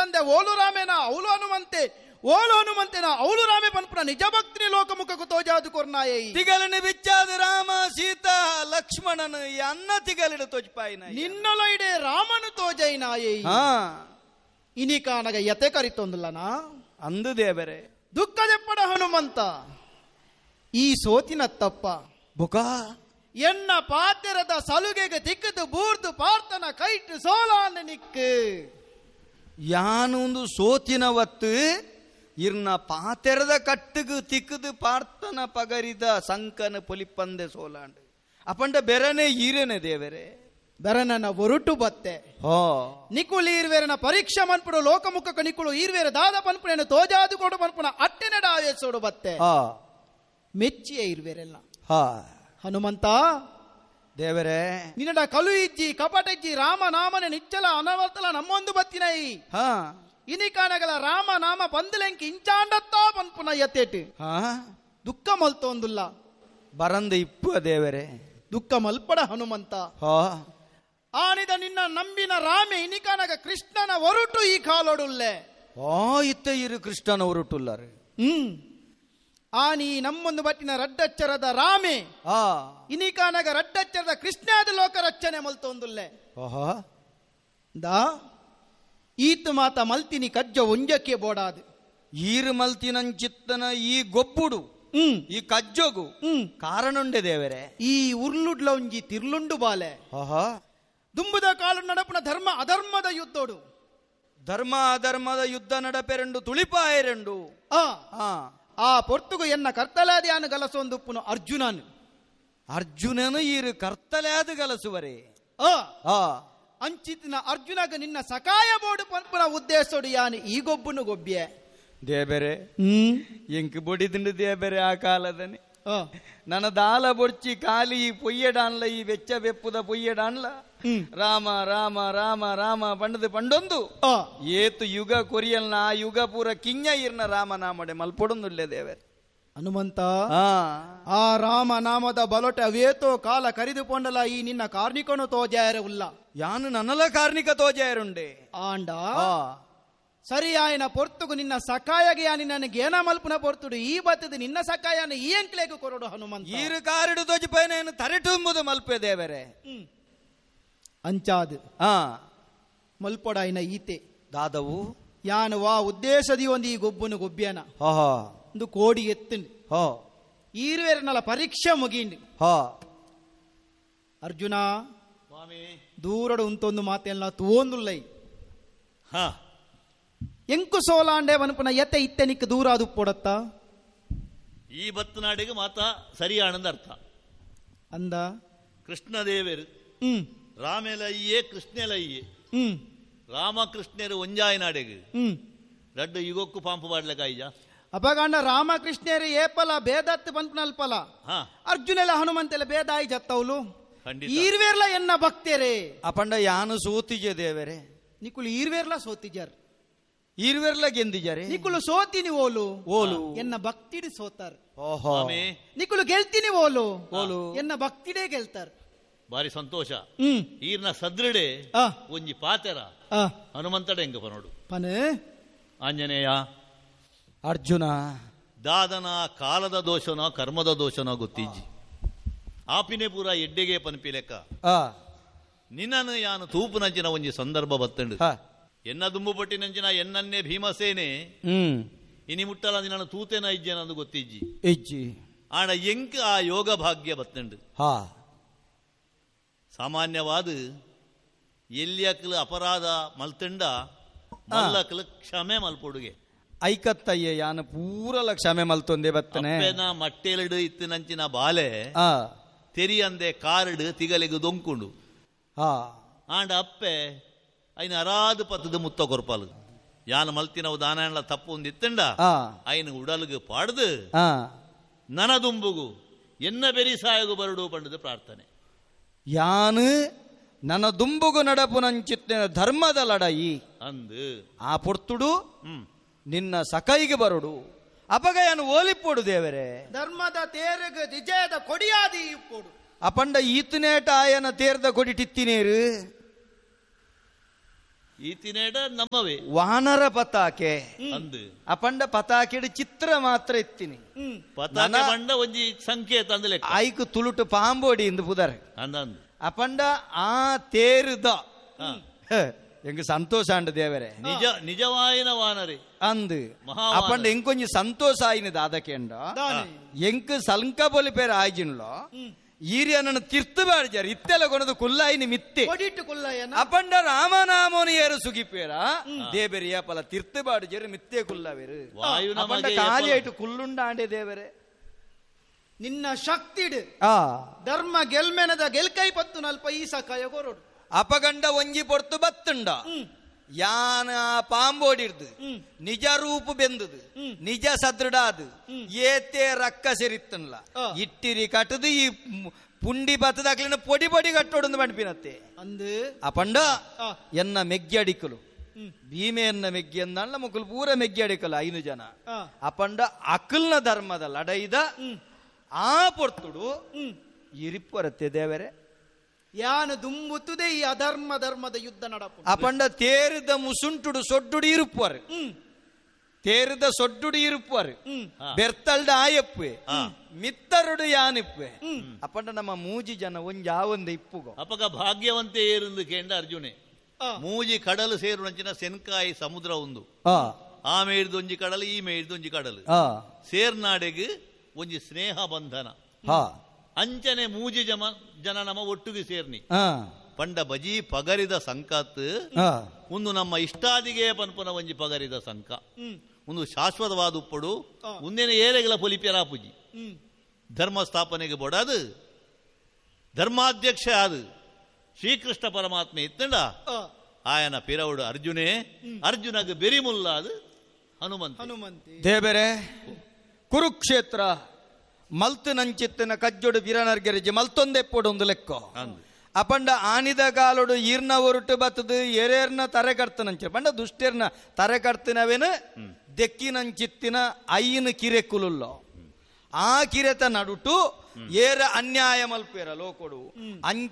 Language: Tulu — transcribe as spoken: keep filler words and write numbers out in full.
ಇಜ್ಜಂದೆ ಓಲು ರಾಮೇನ ಅವಳು ಹನುಮಂತೆ, ಓಲು ಹನುಮಂತೆನ ಅವಳು ರಾಮೆ ಪನ್ಪುನ ನಿಜ ಭಕ್ತಿನಿ ಲೋಕಮುಖకు ತೋಜಾದು ಕೊರ್ನಾಯೈ. ತಿಗಲಿನ ಬಿಚ್ಚಾದ ರಾಮ ಸೀತಾ ಲಕ್ಷ್ಮಣನು ಅನ್ನ ತಿಗಲಿಡ ತೋಜ್ಪಾಯಿನ ನಿನ್ನೊಲೈಡೆ ರಾಮನು ತೋಜೈನಾಯೈ. ಇನಿ ಕಾನಗ ಯತೆ ಕರಿತೊಂದುಲ್ಲನಾ ಅಂದು ದೇವರೇ. ದುಃಖ ದೆಪ್ಪಡ ಹನುಮಂತ, ಈ ಸೋತಿನ ತಪ್ಪ ಬುಕ ಎನ್ನ ಪಾತೆರದ ಸಲುಗೆಗೆ ತಿಕ್ಕದು ಬೂರ್ದು ಪಾರ್ತನ ಕೈಟು ಸೋಲಾನ ನಿಕ್ಕು. ಯಾನೊಂದು ಸೋತಿನ ಒತ್ತು ಇರ್ನ ಪಾತೆರದ ಕಟ್ಟುಗು ತಿಕ್ಕದು ಪಾರ್ತನ ಪಗರಿದ ಸಂಕನ ಪೊಲಿಪಂದೆ ಸೋಲಾಂಡು ಅಪಂಡ ಬೆರನೆ ಈರನೆ ದೇವರೇ. ಬೆರನನ ಒರುಟು ಬತ್ತೆ ನಿಕುಲು ಈರ್ವೇರನ ಪರೀಕ್ಷೆ ಮನ್ಪುಡು ಲೋಕಮುಖಕ ನಿಕುಲು ಈರ್ವೇರ ದಾದ ಪನ್ಪುನೇನು ತೋಜಾದು ಕೊಡು ಪನ್ಪುನ ಅಟ್ಟೆನಡ ಆವೇಸೋಡು ಬತ್ತೆ ಮೆಚ್ಚಿಯ ಇರ್ವೇರೆಲ್ಲ. ಹನುಮಂತ ದೇವರೇ, ನಿನ್ನಡ ಕಲು ಇಜ್ಜಿ ಕಪಟಜ್ಜಿ ರಾಮ ನಾಮನೆ ನಿಚ್ಚಲ ಅನವರ್ತಲ ನಮ್ಮೊಂದು ಬತ್ತಿನೈ. ಇನಿ ಕಾಣಗಲ ರಾಮ ನಾಮ ಬಂದಲೆಂಕಿ ಇಂಚಾಂಡತ್ತಾ ಪನ್ಪುನ ಯತೇಟು ದುಃಖ ಮಲ್ತೊಂದುಲ್ಲ ಬರಂದ ಇಪ್ಪು ದೇವರೇ. ದುಃಖ ಮಲ್ಪಡ ಹನುಮಂತ. ಆನಿದ ನಿನ್ನ ನಂಬಿನ ರಾಮೆ ಇನಿಕಾನಗ ಕೃಷ್ಣನ ಒರುಟು ಈ ಕಾಲೊಡುಲ್ಲೆ. ಆ ಇತ್ತ ಇರು ಕೃಷ್ಣನ ಒರುಟುಲ್ಲಾರೆ. ಹ್ಮ್ ಆನಿ ನಮ್ಮೊಂದು ಬಟ್ಟಿನ ರಡ್ಡಚ್ಚರದ ರಾಮೆ ಇನಿಕಾನಗ ರಡ್ಡಚ್ಚರದ ಕೃಷ್ಣಾದ ಲೋಕ ರಕ್ಷಣೆ ಮಲ್ತೊಂದುಲ್ಲೆ. ದಾ ಈತು ಮಾತ ಮಲ್ತಿನಿ ಕಜ್ಜ ಒಂಜಕ್ಕೆ ಬೋಡಾದು ಈರು ಮಲ್ತಿನಂಚಿತ್ತನ ಈ ಗೊಬ್ಬುಡು ಹ್ಮ್ ಈ ಕಜ್ಜೋಗು ಹ್ಮ್ ಕಾರಣುಂಡೆ ದೇವರೇ. ಈ ಉರ್ಲುಡ್ಲ ಒಂಜಿ ತಿರ್ಲುಂಡು ಬಾಲೆ ದುಂಬುದ ಕಾಲು ನಡಪುನ ಧರ್ಮ ಅಧರ್ಮದ ಯುದ್ಧೋಡು ಧರ್ಮ ಅಧರ್ಮದ ಯುದ್ಧ ನಡಪೆರೆಂಡು ತುಳಿಪಾಯರೆಂಡು. ಆ ಆ ಪೊರ್ತುಗು ಎನ್ನ ಕರ್ತಲಾದ್ಯಾನು ಗಲಸೊಂದುಪ್ಪುನು ಅರ್ಜುನನು. ಅರ್ಜುನನು ಈರು ಕರ್ತಲಾದ ಗಲಸುವರೇ. ಆ ಅಂಚಿತಿನ ಅರ್ಜುನಗ ನಿನ್ನ ಸಕಾಯ ಬೋಡು ಪನ್ಪುನ ಉದ್ದೇಶೋಡು ಯಾನು ಈ ಗೊಬ್ಬುನು ಗೊಬ್ಬಿಯೆ ದೇಬೆರೆ. ಹ್ಮ್ ಎಂಕ್ ಬೊಡಿದಿಂಡು ದೇಬೆರೆ ಆ ಕಾಲದನೆ ನನ್ನ ದಾಲ ಬೊಡ್ಚಿ ಕಾಲಿ ಈ ಪೊಯ್ಯಡಾನ್ಲ ಈ ಬೆಚ್ಚ ಬೆಪ್ಪುದ ಪೊಯ್ಯಡಾನ್ಲ ರಾಮ ರಾಮ ರಾಮ ರಾಮ ಪಂಡದು ಪಂಡೊಂದು ಏತು ಯುಗ ಕೊರಿಯಲ್ನ ಆ ಯುಗ ಪೂರ ಕಿಂಜ ಇರ್ನ ರಾಮನಾಮಡೆ ಮಲ್ಪೊಡೊಂದುಲ್ಲೆ ದೇವರೇ. ಹನುಮಂತ ಆ ರಾಮ ನಾಮದ ಬಲೊಟೆ ಅವೇತೋ ಕಾಲ ಕರಿದುಕೊಂಡಲ ಈ ನಿನ್ನ ಕಾರ್ಣಿಕನು ತೋಜಾಯರ ಉಲ್ಲ. ಯಾನು ನನ್ನಲ ಕಾರ್ಣಿಕ ತೋಜಾಯರುಂಡೆ ಆಂಡ ಸರಿ ಆಯನ ಪೊರ್ತುಗು ನಿನ್ನ ಸಕಾಯಗೆ ಯಾನಿ ನನಗೆ ಏನ ಮಲ್ಪುನ ಪೊರ್ತುಡು ಈ ಬತ್ತದ ನಿನ್ನ ಸಕಾಯನ ಈ ಅಂಕ್ಲೇಗು ಕೊರಡು ಹನುಮಂತ. ಈರು ಕಾರಿಡು ತೋಜಿಪೈನ ತರೆಟುಂಬುದು ಮಲ್ಪೆ ದೇವರೇ. ಅಂಚಾದು ಆ ಮಲ್ಪೊಡಾಯಿನ ಈತೆ ದಾದವು ಯಾನು ವಾ ಉದ್ದೇಶದಿ ಒಂದು ಈ ಗೊಬ್ಬನು ಗೊಬ್ಬಿಯನ ಒಂದು ಕೋಡಿ ಎತ್ತುಂಡು ಈರುವೇರನಲ್ಲ ಪರೀಕ್ಷೆ ಮುಗಿಂಡು. ಅರ್ಜುನ ದೂರಡು ಉಂತೊಂದು ಮಾತೆಲ್ಲ ತೂಂದುಲ್ಲೈ ಎಂಕು ಸೋಲಾಂಡೆ ವನಪುನ ಎತ್ತೆ ಇತ್ತೆ ನಿಕ್ಕ ದೂರ ಅದು ಪೊಡತ್ತ ಈ ಬತ್ತನಾಡಿಗೆ ಮಾತಾ ಸರಿಯಾನಂದ ಅರ್ಥ ಅಂದ ಕೃಷ್ಣದೇವರು ಹ್ಮ್ ರಾಮೆಲಯ್ಯೇ ಕೃಷ್ಣಲಯ್ಯೇ ಹ್ಮ್ ರಾಮಕೃಷ್ಣರು ಒಂಜಾಯ ನಾಡೆಗೆ ಹ್ಮ್ ರಡ್ಡು ಯುಗಕ್ಕೂ ಪಾಂಪು ಬಾಡ್ಲಕಾಯ್ಜ ಅಪಗಾಂಡ ರಾಮಕೃಷ್ಣರು ಏಪಲ ಭೇದತ್ತು ಪನ್ಪುನಲ್ಪಲ ಅರ್ಜುನೆಲ್ಲ ಹನುಮಂತೆಲ್ಲ ಭೇದಾಯಿ ಜತ್ತವಲು ಈರ್ವೇರ್ಲ ಎನ್ನ ಭಕ್ತರೇ. ಅಪಂಡ ಯಾನು ಸೋತಿಜೆ ದೇವರೇ. ನಿಕುಲು ಈರ್ವೇರ್ಲ ಸೋತಿಜಾರ್ ಈರ್ವೇರ್ಲ ಗೆಂದಿಜಾರೆ. ನಿಕುಲು ಸೋತಿನಿ ಓಲು ಓಲು ಎನ್ನ ಭಕ್ತಿಡಿ ಸೋತಾರ್. ಓಹೋ ನಿಕುಲು ಗೆಲ್ತೀನಿ ಓಲು ಓಲು ಎನ್ನ ಭಕ್ತಿಡೇ ಗೆಲ್ತಾರ್. ಬಾರಿ ಸಂತೋಷ. ಹ್ಮ್ ಈರ್ನ ಸದೃಡೆ ಒಂಜಿ ಪಾತೆರ ಹನುಮಂತಡೆ ಹೆಂಗ ಪನೋಡು ಪನೆ ಆಂಜನೇಯ ಅರ್ಜುನ ದಾದನ ಕಾಲದ ದೋಷನೋ ಕರ್ಮದ ದೋಷನೋ ಗೊತ್ತಿಜ್ಜಿ ಆಪಿನೆ ಪೂರ ಎಡ್ಡೆಗೆ ಪನ್ಪಿ ಲೆಕ್ಕ ನಿನ್ನನ್ನು ಯಾನು ತೂಪುನಂಚಿನ ಒಂಜಿ ಸಂದರ್ಭ ಬತ್ತಂಡು ಎನ್ನ ದುಂಬು ಪಟ್ಟಿನಂಚಿನ ಎನ್ನನ್ನೇ ಭೀಮಸೇನೆ ಇನಿ ಮುಟ್ಟಲ ನಿನ್ನ ತೂತೇನ ಇಜ್ಜೆನಂದು ಗೊತ್ತಿಜ್ಜಿ ಇಜ್ಜಿ ಆಣ ಎಂಕ್ ಆ ಯೋಗ ಭಾಗ್ಯ ಬತ್ತಂಡು. ಸಾಮಾನ್ಯವಾದ ಎಲ್ಲಿಯಕ್ಕಲು ಅಪರಾಧ ಮಲ್ತಂಡ ಮಲ್ಲಕ್ಕಲು ಕ್ಷಮೆ ಮಲ್ಪೊಡುಗೆ ಐಕತ್ತಯ್ಯ ಯಾನು ಪೂರಲ ಕ್ಷಮೆ ಮಲ್ತೊಂದೆ ಬತ್ತನೆ. ಅಪ್ಪೆನ ಮಟ್ಟೆಲಡು ಇತ್ತಿನಂಚಿನ ಬಾಲೆ ತೆರಿಯಂದೆ ಕಾರಡು ತಿಗಲಿಗು ದೊಂಕುಂಡು ಆಂಡ ಅಪ್ಪೆ ಐನ ಅರಾದ ಪತ್ತದ ಮುತ್ತ ಕೊರ್ಪಾಲು ಯಾನು ಮಲ್ತಿನವು ದಾನ ತಪ್ಪು ಒಂದಿತ್ತಂಡ ಐನ ಉಡಲ್ಗು ಪಾಡ್ದು ನನದುಂಬುಗು ಎನ್ನ ಬೆರಿ ಸಾಯಗು ಬರಡು ಪಂಡದು ಪ್ರಾರ್ಥನೆ. ಯಾನು ನನ್ನ ದುಂಬುಗು ನಡಪು ನಂಚಿತ್ತಿನ ಧರ್ಮದ ಲಡಾಯಿ ಅಂದು ಆ ಪೊರ್ತುಡು ನಿನ್ನ ಸಕೈಗೆ ಬರುಡು ಅಪಗಯನು ಓಲಿಪ್ಪೋಡು ದೇವರೇ. ಧರ್ಮದ ತೇರಗ ವಿಜಯದ ಕೊಡಿಯಾದಿ ಇಪ್ಪೋಡು ಅಪಂಡ ಈತನೇಟ ಆಯನ ತೇರ್ದ ಕೊಡಿ ಟಿತ್ತಿನೇರು ಈತಿನೇಡ ನಮ್ಮವೇ ವಾನರ ಪತಾಕೆ ಅಂದು ಅಪಂಡ ಪತಾಕೆಡು ಚಿತ್ರ ಮಾತ್ರ ಇತ್ತಿನಿ ಪತಾಕೆ ಬಂಡ ಒಂಜಿ ಸಂಕೇತ ಅಂದಲೆ ಐಕು ತುಳುಟು ಪಾಂಬೋಡಿ ಇಂದು ಪುದರ್ ಅಂದಂದು ಅಪಂಡ ಆ ತೇರುದ ಎಂಗ ಸಂತೋಷ ಅಂಡ ದೇವರೇ ನಿಜ ನಿಜವಾಯಿನ ವಾನರಿ ಅಂದು ಅಪಂಡ ಎಂಕೊಂಜಿ ಸಂತೋಷ ಆಯಿನ ದಾದಕೇಂಡ ಎಂಕ್ ಸಂಕ ಪೊಲಿ ಪೇರ ಆಯ್ಜಿನ್ಲೋ ಈರಿಯನನ್ನು ತಿರ್ತು ಬಾಡಿಜಾರ ಇತ್ತೆಲ್ಲ ಕೊನದು ಕುಲ್ಲಾಯಿನಿ ಮಿತ್ತೆ ಅಪಂಡ ರಾಮನಾಮೋನು ಏರು ಸುಗಿಪೇರ ದೇಬೆರಿಯ ಪಲ ತಿರ್ತು ಬಾಡಿಜಾರು ಮಿತ್ತೆ ಕುಲ್ಲವೇರು ಅಪಂಡ ಖಾಲಿ ಆಯ್ತು ಕುಲ್ಲುಂಡ ಆಂಡೆ ದೇವರೇ ನಿನ್ನ ಶಕ್ತಿಡು ಆ ಧರ್ಮ ಗೆಲ್ಮೆನದ ಗೆಲ್ಕೈ ಪತ್ತು ನಲ್ಪ ಈ ಸಕಾಯ ಕೊರೋಡು ಅಪಗಂಡ ಒಂಜಿ ಪೊರ್ತು ಬತ್ತುಂಡ ಯಾನ ಪಾಂಬೋಡಿರ್ದು ನಿಜ ರೂಪು ಬೆಂದದು ನಿಜ ಸದೃಢ ಅದು ಏತೆ ರಕ್ಕ ಸೆರಿತ್ತನ್ಲ ಇಟ್ಟಿರಿ ಕಟ್ಟದು ಈ ಪುಂಡಿ ಬತ್ತದಾಕ್ಲಿನ ಪೊಡಿ ಪೊಡಿ ಕಟ್ಟೋಡು ಪಂಡ್ಪಿನತ್ತೆ ಅಂದು ಅಪಂಡ ಎನ್ನ ಮೆಗ್ಗಿ ಅಡಿಕಲು ಭೀಮೆ ಎನ್ನ ಮೆಗ್ಗಿ ಅಂದಲ್ಲ ಮುಕುಲು ಪೂರ ಮೆಗ್ಗಿ ಅಡಿಕಲು ಐನು ಜನ ಅಪಂಡ ಅಕಲ್ನ ಧರ್ಮದ ಲಡೈದ ಆ ಪೊರ್ತುಡು ಇರಿಪ್ಪರತ್ತೆ ದೇವರೇ ಯಾನು ದುಂಬುತ್ತದೆ ಈ ಅಧರ್ಮ ಧರ್ಮದ ಯುದ್ಧ ನಡಪು ಅಪಂಡ ತೇರಿದ ಮುಸುಂಟುಡು ಸೊಡ್ಡುಡು ಇರುಪ್ಪರು ತೇರಿದ ಸೊಡ್ಡುಡು ಇರುಪ್ಪರು ಬೆರ್ತಲ್ಡ ಆಯಪ್ಪೆ ಮಿತ್ತರುಡು ಯಾನಿಪ್ಪೆ ಅಪಂಡ ನಮ್ಮ ಮೂಜಿ ಜನ ಒಂಜಿ ಆವೊಂದು ಇಪ್ಪುಗೋ ಅಪಗ ಭಾಗ್ಯವಂತೆ ಏರಿಂದು ಕೇಂಡ ಅರ್ಜುನೆ ಮೂಜಿ ಕಡಲು ಸೇರುನಂಚಿನ ಸೆನ್ಕಾಯಿ ಸಮುದ್ರ ಒಂದು ಆ ಮೇಯ್ದು ಒಂಜಿ ಕಡಲು ಈ ಮೇಯ್ದು ಒಂಜಿ ಕಡಲು ಸೇರ್ನಾಡೆಗ್ ಒಂಜಿ ಸ್ನೇಹ ಬಂಧನ ಅಂಚನೆ ಮೂಜಿ ಜಮ ಜನ ನಮ್ಮ ಒಟ್ಟುಗೆ ಸೇರ್ನಿ ಪಂಡ ಬಜಿ ಪಗರಿದ ಸಂಕತ್ ಒಂದು ನಮ್ಮ ಇಷ್ಟಾದಿಗೆ ಪನ್ಪುನ ಒಂಜಿ ಪಗರಿದ ಸಂಕ ಒಂದು ಶಾಶ್ವತವಾದ ಉಪ್ಪಡು ಮುಂದಿನ ಏರೆಗಳ ಪೊಲಿಪ್ಯರಾಪುಜಿ ಧರ್ಮ ಸ್ಥಾಪನೆಗೆ ಬೊಡದು ಧರ್ಮಾಧ್ಯಕ್ಷ ಅದು ಶ್ರೀಕೃಷ್ಣ ಪರಮಾತ್ಮ ಇತ್ತಂಡ ಆಯನ ಪಿರವುಡು ಅರ್ಜುನೇ ಅರ್ಜುನಗ ಬೆರಿಮುಲ್ಲ ಅದು ಹನುಮಂತ ಹನುಮಂತಿ ದೇವರೇ ಕುರುಕ್ಷೇತ್ರ ಮಲ್ತು ನಂಚಿತ್ತಿನ ಕಜ್ಜೊಡು ಬಿರನರ್ಗೆರಿಜಿ ಮಲ್ತೊಂದೆಪ್ಪೊಡೊಂದು ಲೆಕ್ಕೋ ಅಪಂಡ ಆನಿದ ಕಾಲೊಡು ಈರ್ನ ಒರುಟು ಬತ್ತದು ಎರೇರ್ನ ತರೆ ಕಡ್ತನಂಚ ಪಂಡ ದುಷ್ಟೇರ್ನ ತರೆ ಕಡ್ತಿನವೇನು ದೆಕ್ಕಿನಂಚಿತ್ತಿನ ಐನ ಕಿರೆಕುಲುಲ್ಲೋ ಆ ಕಿರೆತ ನಡುಟು ಏರ ಅನ್ಯಾಯ ಮಲ್ಪೇರ ಲೋಕೊಡು ಅಂಚ